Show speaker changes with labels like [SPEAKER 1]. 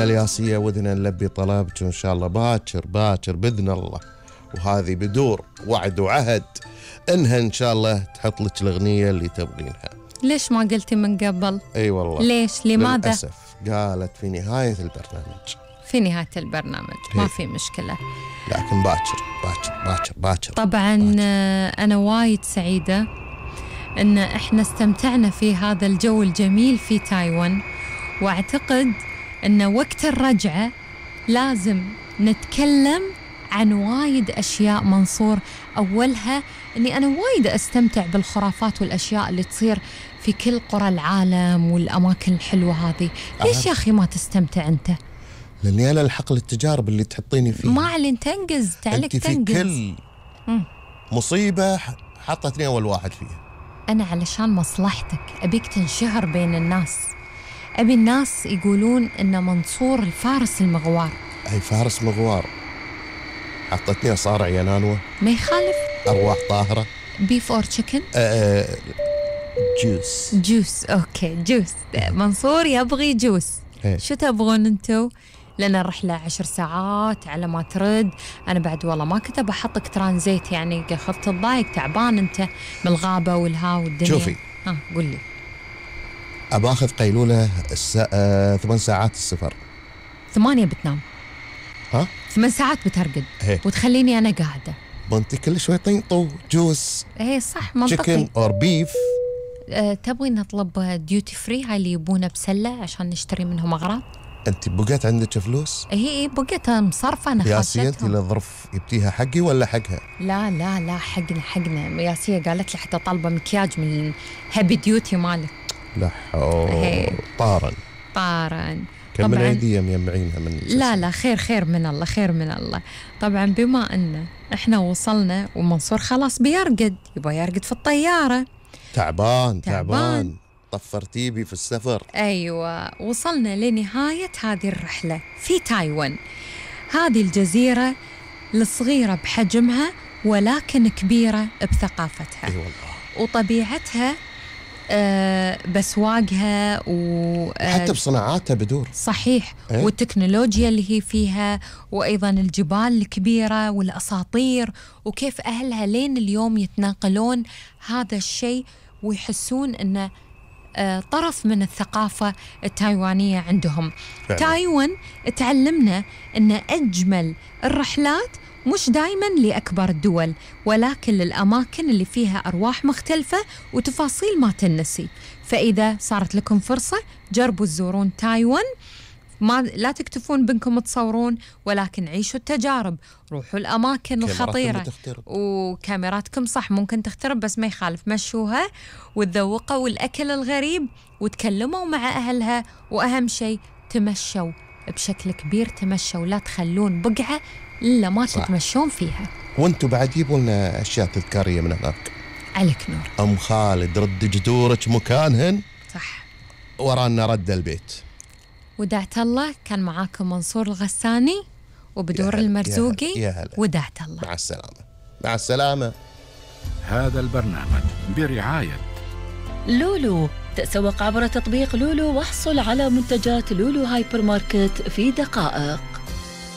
[SPEAKER 1] يا الياسية ودنا نلبي طلبك وإن شاء الله باكر بإذن الله، وهذه بدور وعد وعهد إنها إن شاء الله تحط لك الأغنية اللي تبغينها.
[SPEAKER 2] ليش ما قلتي من قبل؟
[SPEAKER 1] أي والله.
[SPEAKER 2] ليش؟ لماذا؟
[SPEAKER 1] للأسف قالت في نهاية البرنامج.
[SPEAKER 2] في نهاية البرنامج ما في مشكلة،
[SPEAKER 1] لكن باكر.
[SPEAKER 2] طبعا أنا وايد سعيدة إن إحنا استمتعنا في هذا الجو الجميل في تايوان، وأعتقد إن وقت الرجعة لازم نتكلم عن وايد أشياء منصور. أولها أني أنا وايد أستمتع بالخرافات والأشياء اللي تصير في كل قرى العالم والأماكن الحلوة هذه. ليش يا أخي ما تستمتع أنت؟
[SPEAKER 1] لأني أنا الحق للتجارب اللي تحطيني فيها.
[SPEAKER 2] ما علين تنجز، تعلك
[SPEAKER 1] أنت
[SPEAKER 2] تنجز.
[SPEAKER 1] في كل مصيبة حطتني أول واحد فيها.
[SPEAKER 2] أنا علشان مصلحتك أبيك تنشهر بين الناس، أبي الناس يقولون إن منصور الفارس المغوار.
[SPEAKER 1] أي فارس مغوار، حطتني أصارع ينانوة،
[SPEAKER 2] ما يخالف.
[SPEAKER 1] أرواح طاهرة.
[SPEAKER 2] بيف أور تشيكن؟ جوس. أوكي جوس. منصور يبغي جوس. شو تبغون أنتو؟ لأن الرحلة 10 ساعات على ما ترد. أنا بعد والله ما كنت بحطك ترانزيت، يعني خفت الضايق، تعبان أنت من الغابة والها والدنيا.
[SPEAKER 1] شوفي
[SPEAKER 2] قل لي.
[SPEAKER 1] أباخذ قيلولة 8 ساعات السفر.
[SPEAKER 2] 8 بتنام؟ 8 ساعات بترقد وتخليني أنا قاعدة.
[SPEAKER 1] بنتي كل شوي طينطو جوس.
[SPEAKER 2] صح منطقي.
[SPEAKER 1] تشيكن أو بيف.
[SPEAKER 2] تبغي نطلب ديوتي فري، هاي اللي يبونه بسلة عشان نشتري منهم أغراض؟
[SPEAKER 1] أنت بقيت عندك فلوس؟
[SPEAKER 2] هي بقيت مصرفة أنا
[SPEAKER 1] ياسية. أنت للظرف يبتيها حقي ولا حقها؟
[SPEAKER 2] لا حقنا. ياسية قالت لي حتى طالبة مكياج من هابي ديوتي مالك.
[SPEAKER 1] لا طارن كم العيدية ميمعينها من
[SPEAKER 2] لا خير من الله. طبعا بما أن إحنا وصلنا ومنصور خلاص بيرقد، يبغى يرقد في الطيارة.
[SPEAKER 1] تعبان طفرتي بي في السفر.
[SPEAKER 2] أيوة، وصلنا لنهاية هذه الرحلة في تايوان، هذه الجزيرة الصغيرة بحجمها ولكن كبيرة بثقافتها.
[SPEAKER 1] أي والله.
[SPEAKER 2] وطبيعتها بسواقها
[SPEAKER 1] وحتى بصناعاتها بدور.
[SPEAKER 2] صحيح. والتكنولوجيا اللي هي فيها، وأيضا الجبال الكبيرة والأساطير، وكيف أهلها لين اليوم يتناقلون هذا الشيء ويحسون أنه طرف من الثقافة التايوانية عندهم.
[SPEAKER 1] فعلا.
[SPEAKER 2] تايوان تعلمنا أن أجمل الرحلات مش دايما لأكبر الدول، ولكن للأماكن اللي فيها أرواح مختلفة وتفاصيل ما تنسي. فإذا صارت لكم فرصة جربوا تزورون تايوان، لا تكتفون بأنكم تصورون، ولكن عيشوا التجارب، روحوا الأماكن الخطيرة. وكاميراتكم صح ممكن تخترب، بس ما يخالف، مشوها وتذوقوا الأكل الغريب وتكلموا مع أهلها، وأهم شيء تمشوا بشكل كبير، تمشوا، لا تخلون بقعة إلا ما تتمشون فيها.
[SPEAKER 1] وانتوا بعد جيبوا لنا أشياء تذكارية من هناك.
[SPEAKER 2] عليك نور.
[SPEAKER 1] أم خالد رد جذورك مكانهن.
[SPEAKER 2] صح.
[SPEAKER 1] ورانا رد البيت.
[SPEAKER 2] ودعت الله. كان معاكم منصور الغساني وبدور المرزوقي. ودعت الله.
[SPEAKER 1] مع السلامة.
[SPEAKER 3] هذا البرنامج برعاية
[SPEAKER 4] لولو. تسوق عبر تطبيق لولو واحصل على منتجات لولو هايبر ماركت في دقائق.